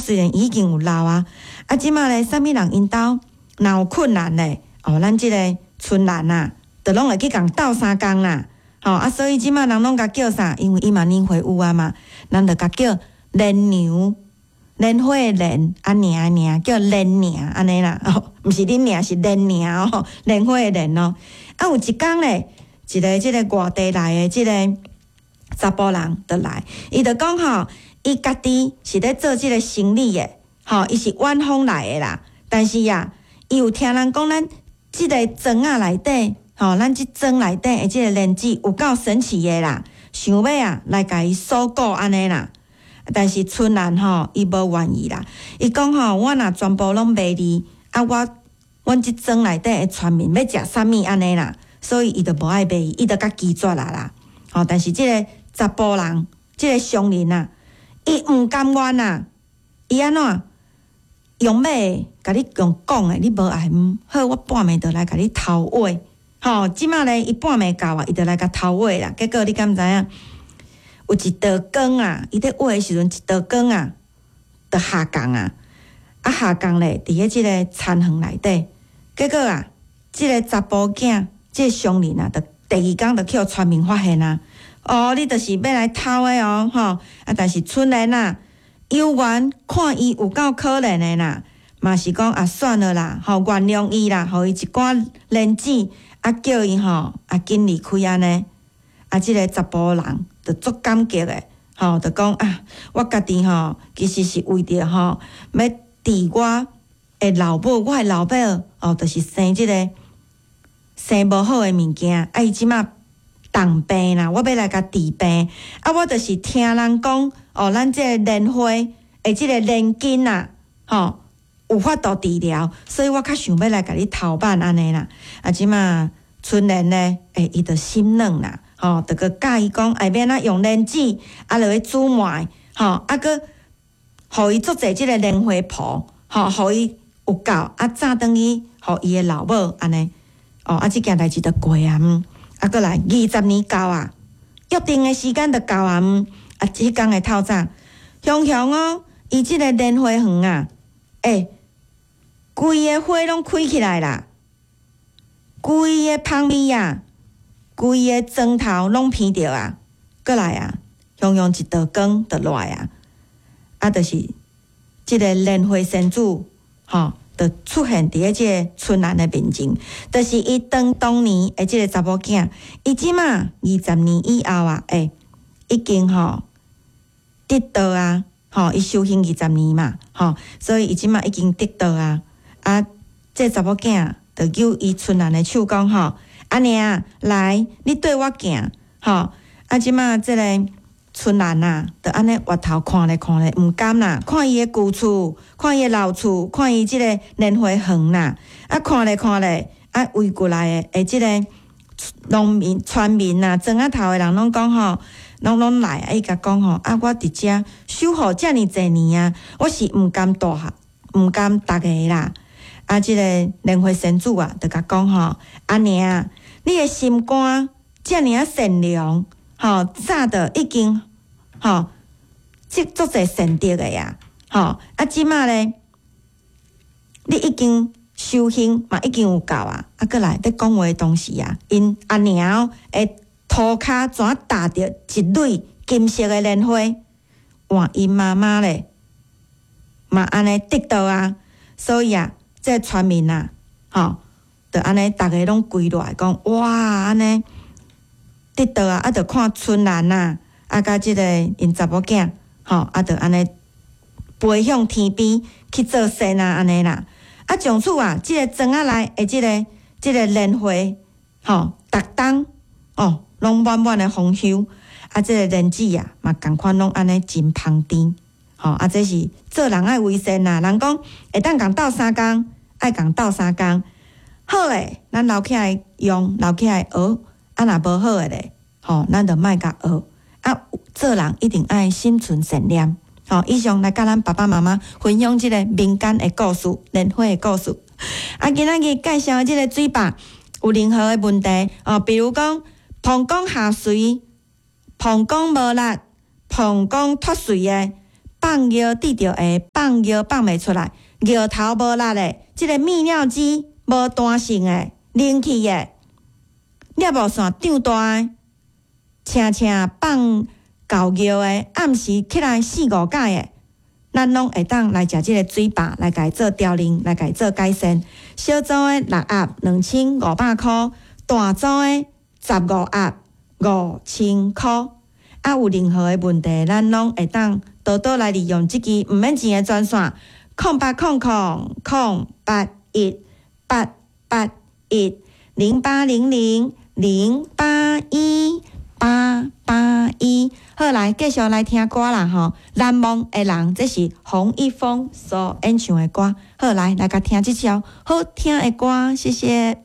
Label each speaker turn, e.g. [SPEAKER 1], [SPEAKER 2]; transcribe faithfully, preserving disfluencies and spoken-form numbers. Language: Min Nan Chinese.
[SPEAKER 1] 雖然已經有老啊，啊，這馬咧，啥物人𪜶兜若有困難咧，哦，咱這个春蘭啊，就攏會去共鬥相共啦，吼啊，所以這馬人攏共叫啥？因為伊嘛年歲有啊嘛，人就共叫蓮娘，蓮花的蓮，啊娘的娘，叫蓮娘按呢啦，哦，毋是恁娘，是蓮娘哦，蓮花的蓮哦。啊，有一工咧，一个這个外地來的這个查埔人就來，伊就講吼，伊家己是咧做這个生理的，吼，伊是遠方來的啦。但是啊，伊有聽人講，咱這个莊仔內底，吼，咱這莊內底的這个蓮子有夠神奇的啦，想欲啊來共伊收購按呢啦。但是春蘭吼，伊無願意啦。伊講吼，我若全部攏賣你，啊我，阮這莊內底的村民欲食啥物按呢啦，所以伊就無愛賣伊，伊就共拒絕啦啦。吼，但是這个查埔人，這个商人啊，伊毋甘願啊，伊按怎用買的，共你用講的，你無愛毋好，我半暝就來共你偷挖。吼，這馬咧，伊半暝到啊，伊就來共偷挖啦。結果你敢知影？有一道光啊，伊咧挖的時陣，一道光啊，就下降啊，啊下降咧，佇咧這个田園內底。結果啊，這个查埔囝，這个商人啊，就第二工就去予村民發現啊。哦，你就是欲來偷的哦，吼！啊，但是春蘭啊，有緣看伊有夠可憐的啦，嘛是講啊，算了啦，吼，原諒伊啦，予伊一寡蓮子，啊，叫伊吼，啊，緊離開按呢。啊，這个查埔人就足感激的，吼，就講啊，我家己吼，其實是為著吼，欲治我的老母，我的老母哦，就是生這个生無好的物件，啊，伊這馬重病啦，我欲來共治病，啊，我就是聽人講，哦，咱這个蓮花的這个蓮根啊，吼，有法度治療，所以我較想欲來共你偷挽按呢啦。啊，這馬春蘭呢，欸，伊就心軟啦，吼，就閣教伊講，愛欲按怎用蓮子，啊，落去煮糜，吼，啊，閣予伊足濟這个蓮花婆，吼，予伊有夠，啊，早轉去予伊的老母按呢，哦，啊，這件代誌就過啊，嗯，啊，閣來二十年到啊，約定的時間就到啊，嗯，啊，彼工的透早，雄雄哦，伊這個蓮花園啊，欸，規个花攏開起來啦，規个芳味啊，規個莊頭攏鼻著啊，閣來啊，雄雄一道光就落來啊，啊，就是這个蓮花仙子，吼，就出現佇咧這个春蘭的面前，就是伊當當年的這个查某囝，伊這馬二十年以後啊，欸，已經吼得道啊，吼，伊修行二十年嘛，吼，所以伊這馬已經得道啊，啊，這個查某囝就揪伊春蘭的手講吼，阿娘來，你綴我行，吼，啊，這馬這个春蘭啊，就按呢回頭看咧看咧，毋甘啦，看伊的舊厝，看伊的老厝，看伊這个蓮花園啦，啊，看咧看咧，啊，圍過來的的這个農民、村民啊，莊仔頭的人攏講吼，攏攏來，啊，伊共講吼，啊，我佇遮守護遮爾濟年啊，我是毋甘蹛下，毋甘逐个啦。啊，這个蓮花仙子啊，就共講吼，阿娘，你的心肝遮爾仔善良，吼，早就已經吼積足濟善德的啊，吼，啊，這馬咧，你已經修行嘛，已經有夠啊，啊，閣來咧講話的當時啊，𪜶阿娘的塗跤怎踏著一蕊金色的蓮花，換𪜶媽媽咧，嘛按呢得道啊，所以啊，這个村民啊，吼，就按呢，逐个攏跪落來講，哇，按呢得道啊，啊，就看春蘭啊，啊，佮這个𪜶查某囝，吼，啊，就按呢飛向天邊去做仙啊，按呢啦。啊，從此啊，這个莊仔內的這个這个蓮花，吼，逐冬哦，攏滿滿的豐收。啊，這个蓮子啊，嘛仝款攏按呢真芳甜。吼，啊，這是做人愛為善啦。人講會當共鬥相共，愛共鬥相共。好的，咱留起來用，留起來學。啊，若無好的咧，吼，咱就莫共學。啊，做人一定愛心存善念。吼，以上來佮咱爸爸媽媽分享這个民間的故事、蓮花的故事。啊，今仔日介紹的這个水壩有任何的問題哦，比如講膀胱下垂、膀胱無力、膀胱脫垂的、放尿滴著會放尿放袂出來，尿頭無力的，這个泌尿肌無彈性的、冷氣的，尿布線長大的，捙捙放厚尿的，暗時起來四五擺的，咱攏會當來食這个水飽，來共伊做調理，來共伊做改善。小組的六盒兩千五百箍，大組的十五盒五千箍。啊，有任何的問題，咱攏會當多多來利用這支毋免錢的專線，空八空空空八一八八一零八零零零八一八八一。好，來繼續來聽歌啦吼！難忘的人，這是洪一峰所演唱的歌。好，來來共聽這首好聽的歌，謝謝。